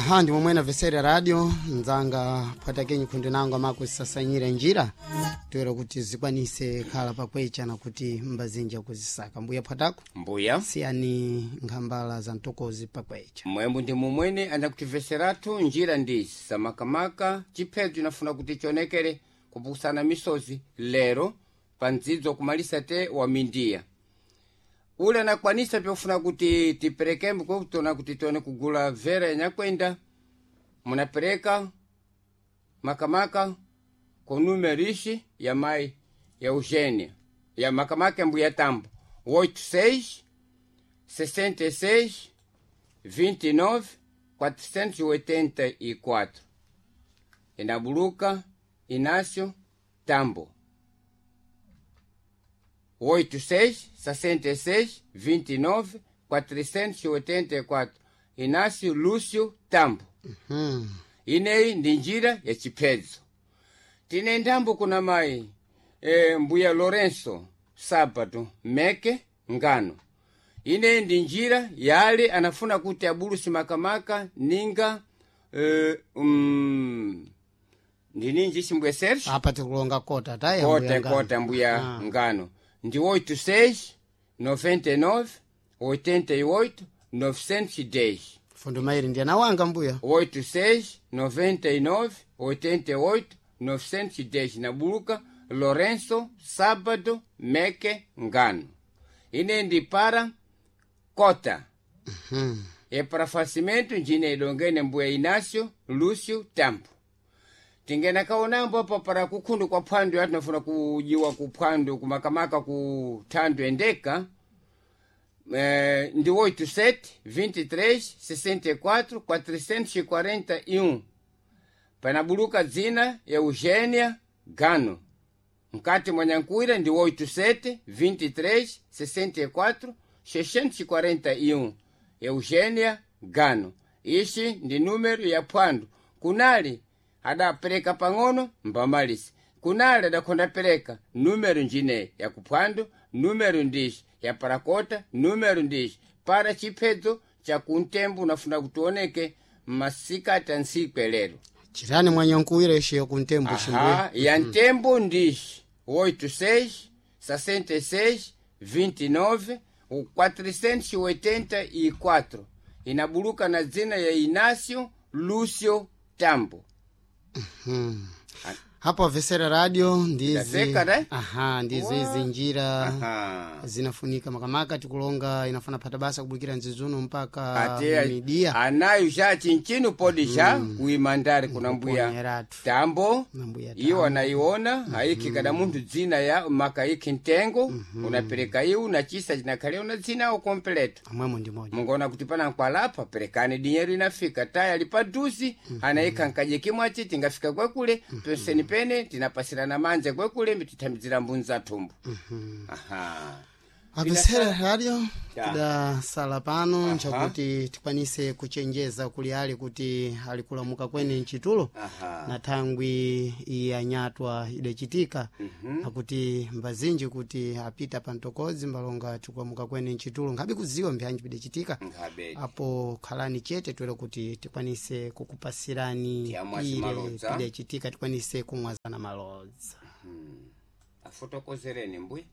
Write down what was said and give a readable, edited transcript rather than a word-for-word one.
Aha, ndi momwe namvesera radio mdzanga phwatakenyi khundu nango amakusasanyira njira toera kuti zikwanise khala pakwecha na kuti mbazinja kuzisaka. Mbuya phwatako, Mbuya, siyani nkhambala za mtokozi pakwecha. Mwembu ndi mumwene anakutiveseratu njira ndi samakamaka chiphedzo inafuna kuti chionekere kupusana misozi lero pa mdzidzo kumalisa te wa mindiya ule anakwanisa pyofuna kuti tiperekembo kwekutona kuti tione kugula vera yanyakwenda munapereka makamaka ku numero ixi ya mai ya Eugênia ya makamaka ya mbuya Tambo 86 66 29 484, inabuluka Inácio Tambo 86 66 29 484, Inácio Lúcio Tambo. Ineyi ndi njira ya chiphedzo. Tine ndambo kuna mayi mbuya Lorenzo Sabato meke ngano. Ineyi ndi njira yale anafuna kuti abulusi makamaka ninga ndininji chimbuya Sergio Apa tikulonga kota taya mbuya kota ngano. Kota mbuya ngano ndi 86 99 88 910. Fundo mairi ndi anawanga mbuya. 86 99 88 910, nabuluka Lorenzo Sábado Meke Ngano. Ine ndi para kota e para facimento njine idongene mbuya Inácio Lúcio Tambo. Tingena kaonambo apa para kukhundu kwa phwando yatinafuna kujiwa kuphwando kumakamaka ku thando endeka ndi 87 23 64 441, panabuluka dzina ya Eugênia Gano mkati mwa Nyankuira ndi 87 23 64 641, Eugênia Gano. Ixi ndi número ya phwando. Kunali adapereka pang'ono mbamalisi, kunali adakhonda pereka número njine ya kuphwando, número ndixi ya parakota, número ndixi para chiphedzo cha kuntembo unafuna kutioneke masikati a ntsiku elero. Chitani mwanyankuwira ixi yakuntembo ximbuya. Aha, ya ntembo ndixi 86 66 29 484, inabuluka na dzina ya Inácio Lúcio Tambo. Hapo avesera radio ndizi. Ndaseka, ne? Aha, ndizo izi njira Aha. zinafunika makamaka tikulonga inafuna phata basa kubukira nzizuno mpaka Ate midia. anayo xa chinchinu podi xa kuimandari kuna mbuya Kuponeratu. Tambo. Na mbuya. Iwo anaiona haiki kada munthu dzina ya makaiki ntengo unapereka iwu na chisa chinakhale una dzina awo kompleto. Amwemo ndi moja. Mungaona kuti pana nkwalapa perekani dinheiro inafika taya ali paduzi anaikha nkaje kimwachi tingafika kwekule penseni pene tinapasirana manja kwekule mitithamizira mbunza thumbu. Aha. Apesera radio, Ya. tidasala pano nchakuti tikwanise kuchenjeza kuli ali kuti alikulamuka kwene mchitulo Aha. na thangwi iyanyatwa idachitika nakuti mbazinji kuti apita pa mtokozi mbalonga tikulamuka kwene mchitulo nkhabe kuziwa mbyanji pidachitika. Nkhabe. Apo khalani chete twere kuti tikwanise kukupasirani Tiyamwazi ile malodza. pidachitika tikwanise kumwazana malodza. Afotokozereni mbuya.